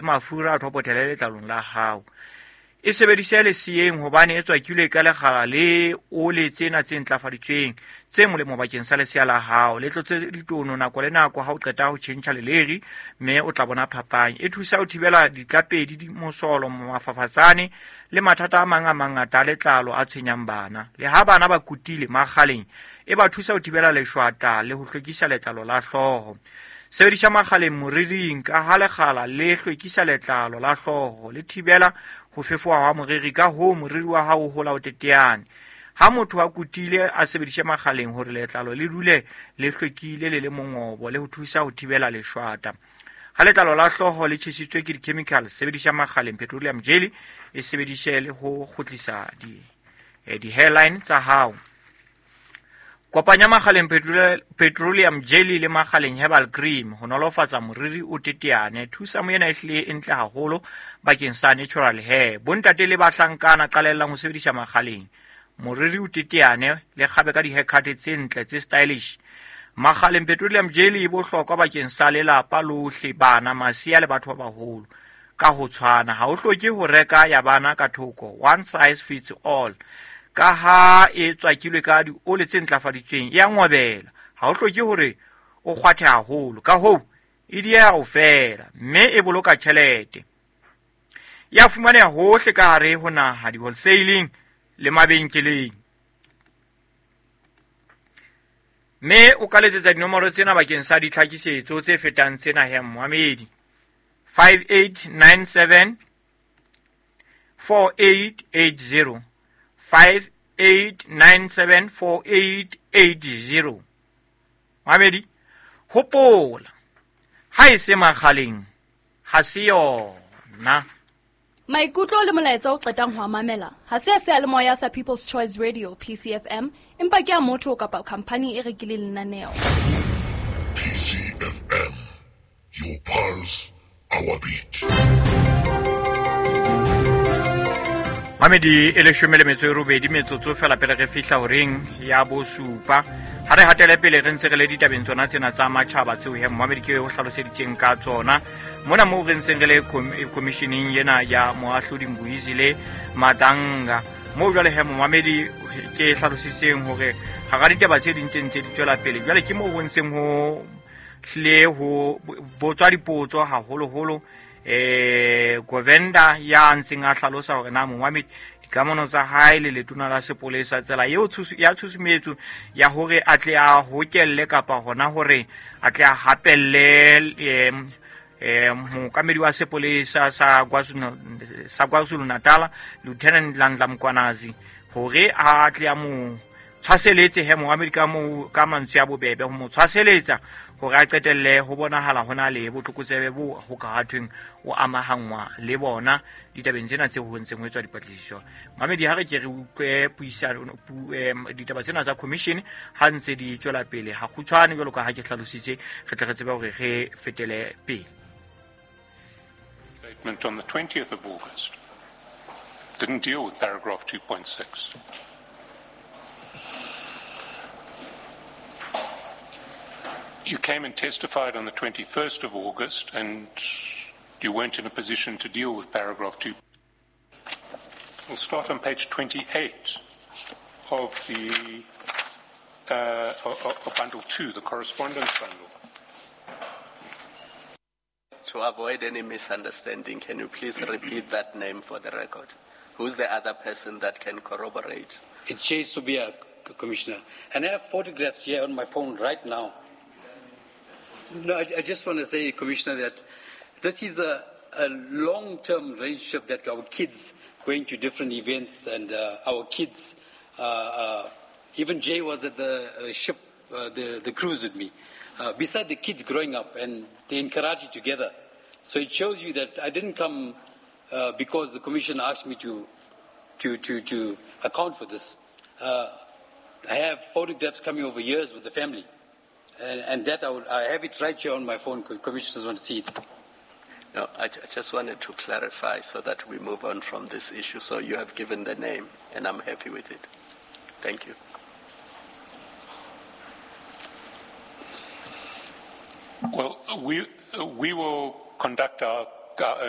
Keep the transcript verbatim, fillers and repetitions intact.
mafura a thopothele letlalong la hao. E sebedise leseyeng hobane e tswakilwe ka lekgala le ole tsena tse ntlafaditsweng tse molemo bakeng sa lesea la hao. Le tlotse ditono nako le nako ha o qeta ho tjhentjha leleri, mme o tla bona phapang. E thusa ho thibela ditlapedi, di mosolo, mafafatsane le mathata a mang a mangata a letlalo a tshwenyang bana. Le ha bana ba kutile makgaleng, e ba thusa ho thibela leshwata le ho hlwekisa letlalo la hlooho. Sebedisa makgaleng moriring ka ha lekgala le hlwekisa letlalo la hlooho, le thibela ho fefoha ha moriri, ka hoo moriri wa hao o hola o teteane. Ha motho a kutile a sebedise makgaleng hore letlalo le dule le hlwekile le le mongobo le ho thusa ho thibela leshwata. Ha letlalo la hlooho le tjhesitswe ke di-chemicals, sebedisa makgaleng petroleum jelly, e sebedise le ho kgutlisa di, eh, di-hairline tsa hao. Kopanya makgaleng petroleum jelly le makgaleng herbal cream ho nolofatsa moriri o teteane. Thusa moena e hlile e ntle haholo bakeng sa natural hair. Bontate le bahlankana qalellang ho sebedisa makgaleng moriri o teteane le kgabe ka di-haircut tse ntle tse stylish. Makgaleng petroleum jelly e bohlokwa bakeng sa lelapa lohle, bana, masea le batho ba baholo ka ho tshwana. Ha o hloke ho reka ya bana ka thoko, one size fits all. Ka ha e tswakilwe ka diole tse ntlafaditsweng, e a ngobela. Ha o hloke hore o kgwathe haholo, ka hoo e dieha ho fela, mme e boloka tjhelete. Ya fumaneha hohle ka hare ho naha, di-wholesaling le mabenkeleng. Mme o ka letsetsa dinomoro tsena bakeng sa ditlhakisetso tse fetang tsena he Mohamedi: five eight nine seven four eight eight zero, five eight nine seven four eight eight zero. Mohamedi, hopola, ha e se makgaleng, ha se yona. Maikutlo le molaetsa o qetang ho a mamela ha se a seyalemoya sa People's Choice Radio P C F M, empa ke a motho kapa khamphani e rekileng lenaneo. P C F M, your pulse, our beat. Mamedi e leshome le metso e robedi metsotso fela pele re fihla horeng ya bosupa. Ha re hatele pele re ntse re le ditabeng tsona tsena tsa matjhaba tseo he Mohamedi ke o hlaloseditseng ka tsona. Mona moo re ntseng re le commissioning ena ya moahlodi Mbuyisile Madlanga, moo jwale he Mohamedi ke hlalositseng hore hara ditaba tse ding tse ntse di tswela pele, jwale ke moo ho ntseng ho hlile ho botswa dipotso haholoholo. Eh Govenda ya ntseng a hlalosa hore na Mohamedi dikamano tsa hae le letona la sepolesa, tsela eo ya tshusumetso ya hore a tle a hokelle kapa hona hore a tle a hapelle eh eh mookamedi wa sepolesa sa KwaZulu sa KwaZulu Natal Lieutenant Nhlanhla Mkhwanazi hore a tle a mo tshwaseletse he Mohamedi ka mo ka mantswe a bobebe ho mo tshwaseletsa hore a qetelle ho bonahala hona le botlokotsebe bo ho ka thweng o amahangwa le bona ditabeng tsena tse ho ntseng ho etswa dipatlisiso. Mamedi, ha re ke re utlwe puisano ditaba tsena tsa commission ha ntse di tswela pele ha kgutshwane jwalo ka ha ke hlalositse, re tle re tsebe hore re fetele pele. Statement on the twentieth of August didn't deal with paragraph two point six. You came and testified on the twenty-first of August, and you weren't in a position to deal with paragraph two. We'll start on page twenty-eight of the uh, of, of bundle two, the correspondence bundle. To avoid any misunderstanding, can you please repeat that name for the record? Who's the other person that can corroborate? It's Jay Subia, Commissioner. And I have photographs here on my phone right now. No, I, I just want to say, Commissioner, that this is a, a long-term relationship that our kids going to different events, and uh, our kids, uh, uh, even Jay was at the uh, ship, uh, the, the cruise with me. Uh, beside the kids growing up, and they in Karachi together. So it shows you that I didn't come uh, because the Commission asked me to, to, to, to account for this. Uh, I have photographs coming over years with the family. And, and that I, would, I have it right here on my phone. Commissioners want to see it. No, I, I just wanted to clarify so that we move on from this issue. So you have given the name, and I'm happy with it. Thank you. Well, we, we will conduct our our own